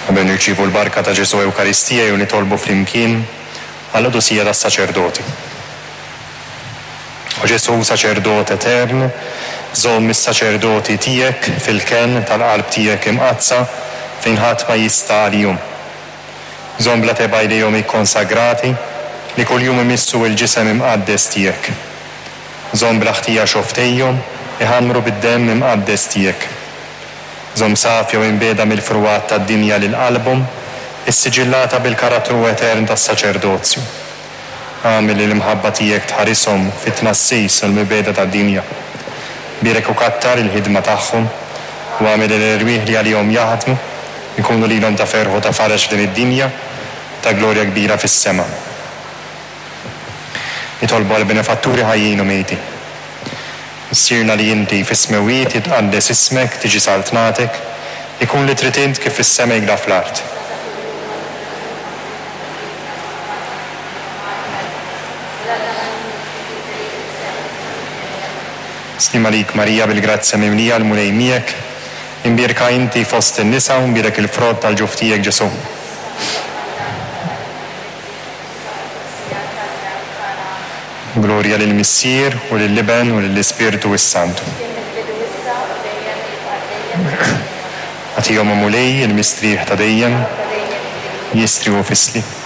Qabel nirċievu l-barka ta' Ġesù Ewkaristija jew nitolbu flimkien għall-qdusija tas-saċerdoti. O Ġesù saċerdot etern, żomm is-saċerdoti tiegħek fil-kenn tal-qalb tiegħek imqaddsa fejn ħadd ma jista' għalihom. Żomm bla tebgħa jdejhom ikkonsagrati li kuljum imissu l-ġisem imqaddes tiegħek. Żomm bla ħtija xofftejhom iħammru bid-demm imqaddes tiegħek. Żomm safja u imbiegħda mill-frugħat tad-dinja lil qalbhom, issiġillata bil-karattru etern tas-saċerdozju. Agħmel li l-imħabba tiegħek tħarishom fit-tnassis u l-mibegħda tad-dinja. Bierek u kattar il-ħidma tagħhom, u agħmel li l-erwieħ li għalihom jaħdmu jkunu lilhom ta' ferħ u ta' faraġ f'din id-dinja, u ta' glorja kbira fis-sema. Nitolbu għall-benefatturi ħajjin u mejtin. Missierna li inti fis-smewwiet, jitqaddes ismek, tiġi saltnatek, ikun li trid int kif fis-sema hekda fl-art. Sliem għalik Marija bil-grazzja mimlija l-Mulej miegħek, imbierka inti fost in-nisa u mbierek il-frott tal-ġuf tiegħek Ġesù. Glorja lill-Missier, u lill-Iben, u lill-Ispirtu s-Santu. Kien mill-bidu issa u dejjem u jibqa' dejjem u dejjem. Agħtihom, o Mulej, il-mistrieħ ta' dejjem, jistrieħu fis-sliem.